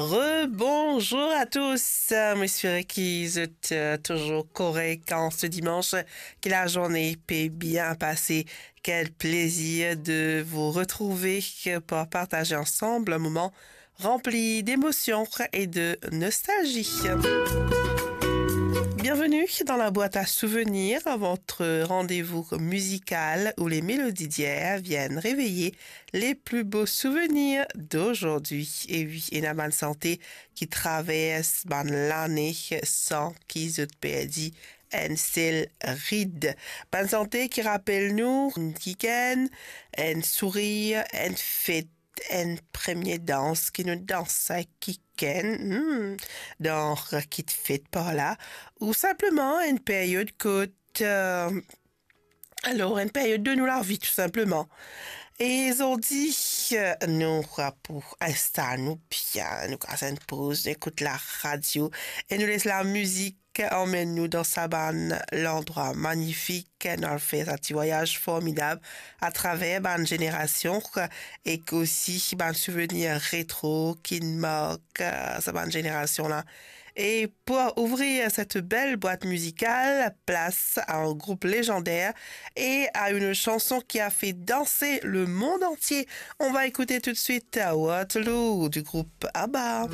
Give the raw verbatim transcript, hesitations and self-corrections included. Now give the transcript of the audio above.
Rebonjour à tous. Euh, mo espere ki zot, euh, toujours correct en ce dimanche, que la journée peut bien passer. Quel plaisir de vous retrouver pour partager ensemble un moment rempli d'émotions et de nostalgie. Bienvenue dans la boîte à souvenirs, votre rendez-vous musical où les mélodies d'hier viennent réveiller les plus beaux souvenirs d'aujourd'hui. E wi, ena bann sante ki travers bann lane san ki zot perdi enn sel rid. Bann sante ki rapel nou enn kikenn, enn sourir, enn fet, enn premie dans ki nou dans kikenn, hmm, dan kit fet par la, ou sinpleman enn period kot, euh, alor, enn period de nou lavi, tou sinpleman. E zordi, euh, nou pou instal nou bien, nou kas enn poz, nou ekout la radio e nou les la mizik anmenn nou dan sa bann landrwa magnifik, nou al fer sa ti vwayaz formidab atraver bann zenerasion ek osi bann souvenir retro ki mark, euh, sa bann zenerasion la. Et pour ouvrir cette belle boîte musicale, place à un groupe légendaire et à une chanson qui a fait danser le monde entier. On va écouter tout de suite Waterloo du groupe ABBA.